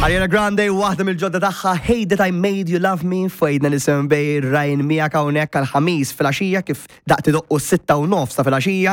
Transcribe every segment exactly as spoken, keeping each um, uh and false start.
Ariana Grande, waħda mill-ġodda tagħha, Hate That I Made You Love Me, f'Għidna li Bay Ryan miegħek hawnhekk għal-Ħamis filgħaxija kif daqt idoqqu sitta u nofs ta' filgħaxija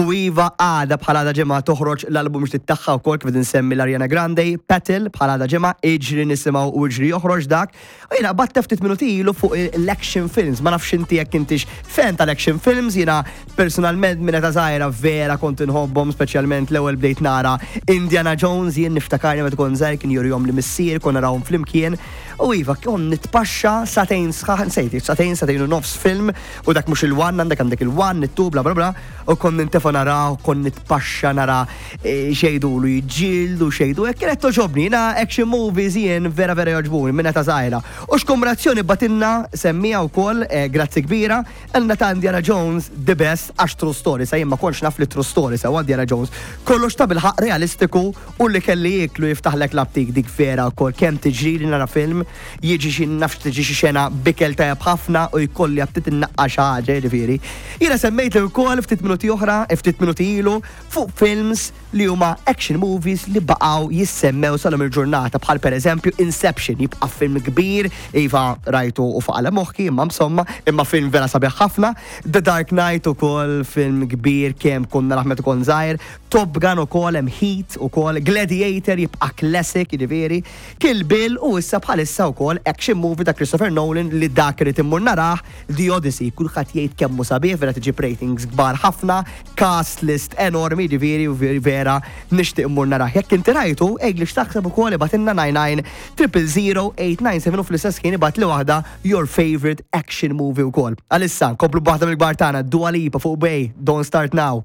u iva, għada bħala għada ġimgħa toħroġ l-album ġdid tagħha wkoll, kif nsemmi l-Ariana Grande, Petal, bħala għada ġimgħa, iġri nisimgħu u iġri joħroġ dak. U jiena batta ftit minuti ilu fuq l-action films, ma nafx inti jekk intix fan tal-action films. Jiena personalment minn ta' żgħira vera kont inħobbhom, speċjalment l-ewwel bdejt nara Indiana Jones, jien niftakarni meta kont żgħir kien jurihom li missier, konna narawhom flimkien. U iva, kont nitpaxxa sagħtejn sħaħ, nsejt, sagħtejn, sagħtejn u nofs film, u dak mhux il-one, għandek għandek il-one, it-two, bla bla bla, u kont nintefa naraw, kont nitpaxxa nara eh, xejdulu jiġġieldu, xejdu, e kienet togħġobni, jiena action movies jien vera vera jogħġbuni minn ta' żgħira. U x'kombinazzjoni bagħtilna semmija wkoll, eh, grazzi kbira, għandna ta' Indiana Jones the best, għax true story, sa jien ma kontx naf li true story sa Indiana Jones. Kollox ta' bilħaq realistiku u li kelli jiklu jiftaħlek l-aptit, dik vera wkoll, kemm tiġri li nara film, jiġi xi nafx tiġi xi xena b'ikel tajjeb ħafna u jkolli aptit innaqqa xi ħaġa, jiġifieri. Jiena semmejt ukoll ftit minuti oħra, ftit minuti ilu, fuq films li huma action movies li baqgħu jissemmew sal il-ġurnata, bħal per eżempju Inception, jibqa' film kbir, iva rajtu u faqala moħħi, imma insomma, imma film vera sabiħ ħafna. The Dark Knight ukoll film kbir, kemm konna raħmet ukoll żgħir, Top Gun ukoll, hemm Heat ukoll, Gladiator jibqa' classic, jiġifieri, Kill Bill u issa bħalissa wkoll action movie ta' Christopher Nolan li dak irid immur narah, The Odyssey, kulħadd jgħid kemm hu sabiħ, vera tiġi ratings kbar ħafna, cast list enormi, jiġifieri, u vera nixtieq immur narah. Jekk inti rajtu, għidli x'taħseb ukoll, ibgħatilna nine nine triple zero eight nine seven u fl-istess kien ibgħat li waħda your favorite action movie wkoll. Għalissa, nkomplu b'waħda mill-kbar tagħna, Dua Lipa fuq Bay, Don't Start Now.